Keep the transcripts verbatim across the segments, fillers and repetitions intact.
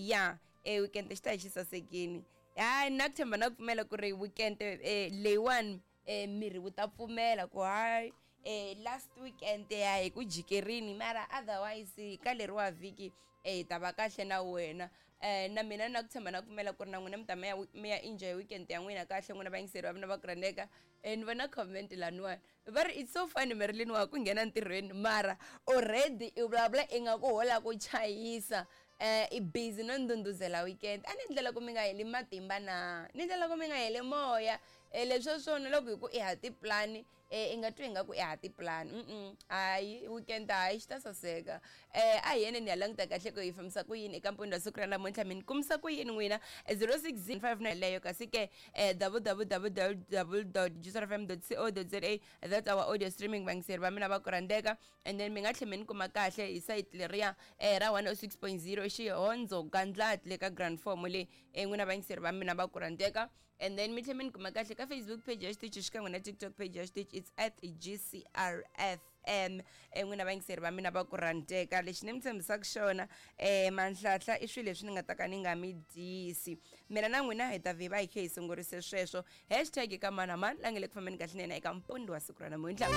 Ya, e weekend xi ta hi xi sasekini. Hayi, na ku tshemba na ku pfumela ku ri weekend eh, leyiwani eh, miri wu ta pfumela ku hayi, eh, last weekend ya hi ku jikerini, mara otherwise ka leriwa vhiki eh, hi ta va kahle na wena. eh na mina na ku tshemba na ku pfumela ku ri na n'wina mi ta mi ya mi ya enjoy weekend ya n'wina kahle, n'wina vayingiseri va mina va ku rhandzeka. eh ni vona comment laniwani, va ri, "It's so funny, Marilyn, wa ku nghena ntirhweni mara already i vulavula ingaku ho la ku chayisa, eh i busy no ndhundhuzela weekend." A ni ndlela ku mi nga heli matimba, na ni ndlela ku mi nga heli moya. eh leswi swona loko hi ku i ha tipulani, eh i nga twi ingaku i ha tipulani. mm hayi, weekend hayi, xi ta saseka. eh a hi yeni ni ya languta kahle ku hi fambisa ku yini eka mpfundo wa siku ra namuntlha. Mi ni kumisa ku yini n'wina? zero six five nine leyo, kasi ke eh w w w dot juicefm dot co dot za, that's our audio streaming, vayingiseri va mina va ku rhandzeka. And then mi nga tlhela mi ni kuma kahle hi site leriya eh ra one oh six point zero Xihondzo Gandlati le ka grand form le, eh n'wina vayingiseri va mina va ku rhandzeka. And then mi tlhela mi ni kuma kahle ka Facebook page ya xitichi xikan'we na TikTok page ya xitichi, it's at G C R F M. eh n'wina vayingiseri va mina va ku rhandzeka, lexi ni mi tshembisaka xona, eh manhlahla i swilo leswi ni nga ta ka ni nga mi dyisi. Mina na n'wina hi ta vhi va hi khe hi sungurise sweswo. Hashtag ka mani na mani la nge le ku fambeni kahle nene eka mpundo wa siku ra namuntlha.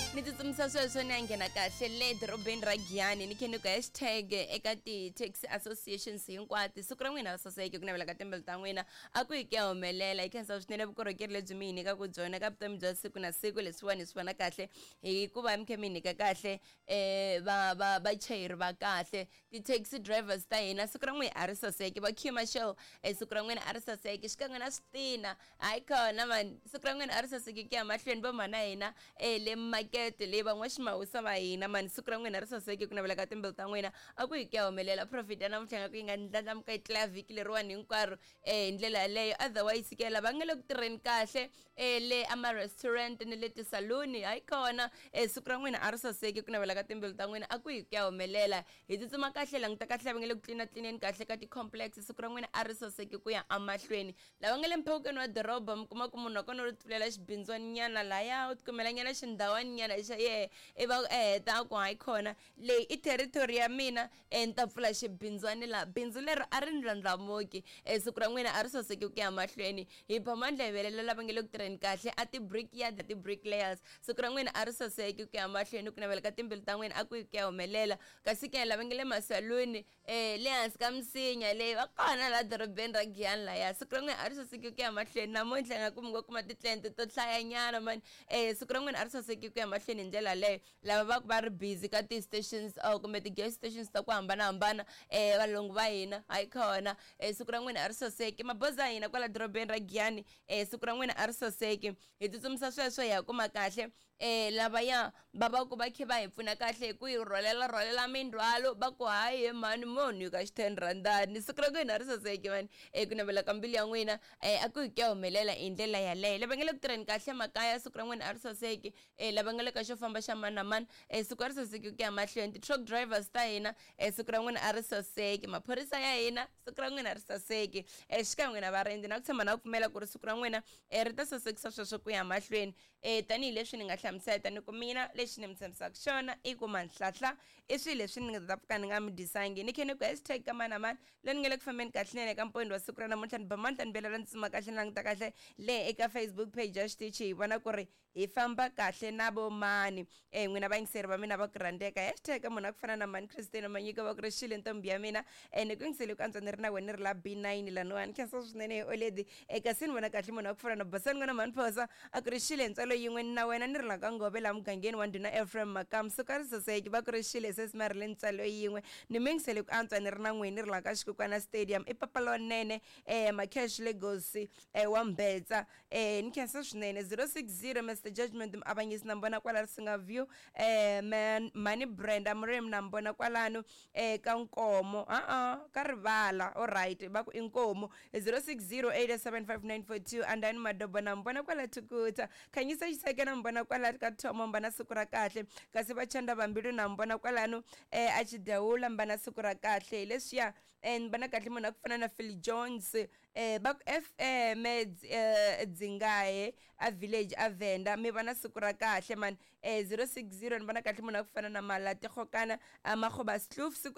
Ni tsutsumisa sweswo ni ya nghena kahle le dorobeni ra Giyani, ni khe ni ku hashtag eka ti-taxi associations hinkwato. Siku ra n'wina ra saseke, ku navela ka timbilu ta n'wina a ku hi ku ya humelela. Hi khensa swinene vukorhokeri lebyi mi hi nyikaka byona ka vutomi bya siku na siku. Leswiwani hi swi vona kahle hikuva mi khe mi hi nyika kahle um va va vachayeri va kahle, ti-taxi drivers ta hina. Siku ra n'wina a ri saseke. Va queue marshal, um siku ra n'wina a ri saseke xikan'we na switina. Hayi khona mani, siku ra n'wina a ri saseke ku ya mahlweni. Vo mhana hina um le makete leyi, van'waximawusa va hina mani, siku ra n'wina ri saseke, ku navela ka timbilu ta n'wina a ku hi ku ya humelela. Profit ya namuntlha nga ku yi nga ndlandlamuka yi tlula vhiki leriwani hinkwaro um hi ndlela yaleyo. Otherwise ke, lava nga le ku tirheni kahle um le ama-restaurant ni le tisaluni, hayi kona, um siku ra n'wina a ri saseke, ku navela ka timbilu ta n'wina a ku hi ku ya humelela. Hi tsutsuma kahle, languta kahle lava nga le ku tlina tlineni kahle ka ti-complex, siku ra n'wina a ri saseke ku ya emahlweni. Lava nga le mphawukeni wa doroba, mi kuma ku munhu wa kona u ri pfulela xibindzwaninyana laya, u tikumela nyana xindhawaninyana xa yehe, i va heta a ku, "Hayi khona, leyi i territory ya mina, e ni ta pfula xibindzwani laha." Bindzu lero a ri ndlandlamuki. e siku ra n'wina a ri saseki ku ya mahlweni. Hi ba mandla hi velela lava nga le ku tirheni kahle a ti-brick yard, ti-brick layers, siku ra n'wina a ri saseki ku ya mahlweni, ku navela ka timbilu ta n'wina a ku yi ku ya humelela. Kasi ke lava nga le masaluni, um le hansi ka misinya leyi va kona laha dorobeni ra Giyani laya, siku ra n'wina a ri saseki ku ya mahlweni. Namuntlha nga ku mi ngo kuma ti-client to hlayanyana mani. um siku ra n'wina a ri saseki ku ya mahlweni hi ndlela yaleyo. Lava va ku va ri busy ka ti-stations or kumbe ti-gas stations ta ku hambanahambana, um valungu va hina, hayi khona, um siku ra n'wina a ri saseki. Mabazi ya hina kwala dorobeni ra Giyani, um siku ra n'wina a ri saseki. Hi tsutsumisa sweswo hi ya kuma kahle um lavaya va va ku va khe va hi pfuna kahle hi ku hi rhwalela rhwalela mindzhwalo, va ku, "Hayi he mhani, mo nyika xi ten randani." Siku ra n'wina a ri saseki mani, um ku navela ka mbilu ya n'wina um a ku hi ku ya humelela hi ndlela yaleyo. Lava nga le ku tirheni kahle makaya, siku ra n'wina a ri saseki. um lava nga le ka xo famba xa mani na mani, um siku a ri saseki ku ya mahlweni. Ti-truck drivers ta hina, um siku ra n'wina a ri saseki. Maphorisa ya hina, siku ra n'wina a ri saseki. um xikan'we na varindzi, na ku tshemba na ku pfumela ku ri siku ra n'wina um ri ta sasekisa sweswo ku ya mahlweni. um tanihileswi ni nga hlamusela ni ku mina lexi ni mi tshembisaka xona i ku manhlahla i swilo leswi ni nga ta pfuka ni nga mi dyisangi. Ni khe ni ku hashtag ka mani na mani leyi ni nga le ku fambeni kahle nene eka mpondo wa siku ra namuntlha. Ni ba mandla ni belela ni tsuma kahle, ni languta kahle le eka Facebook page ya xitichi, hi vona ku ri hi famba kahle na vo mani. um n'wina vayingiseri va mina va ku rhandzeka, hashtag munhu a ku fana na mani Christina Manyika, va ku ri xile ntombi ya mina, um ni ku yingisele ku antswa ni ri na wena, ni ri la B nine laniwani. Khensa swinene oledi. um kasi ni vona kahle munhu a ku fana na Basani n'wana mhani Phosa, a ku ri xile ntswalo yin'we na wena, ni ri la ka Ngove laha mugangeni wa ndhuna Ephraim Makamu. Siku a ri saseki, va ku ri xile sesi Marile ntswalo yin'we, ni mi yingisele ku antswa ni ri na n'wini, ni ri la ka Xikukwana Stadium, i papa lonene, um Macash Lagos, um wa Mbetsa. um ni khensa swinene. zero six zero Mister Judgment Muavanyisi na mbona kwala Risinga View. um man mani Brenda Murimi na mbona kwalano um ka Nkomo, a-a ka Rivala. Alright, va ku i Nkomo. zero six zero eight seven five nine four two. Andani Madobo na mbona kwala Thukuta. Khanyisa Xiseke na mbona kwala ka Thomo, mbana siku ra kahle. Kasi Vachanda Vambilu na mbona kwalano um a Xidewula, mbana siku ra kahle. Hi leswiya um ni vona kahle munhu a ku fana na Phil Jones, um va ku F M eh, Dzingahe a village a Venda, mi va na siku ra kahle mani. um zero six zero, ni vona kahle munhu a ku fana na Malati Gokana a Makgoba Sloof, siku a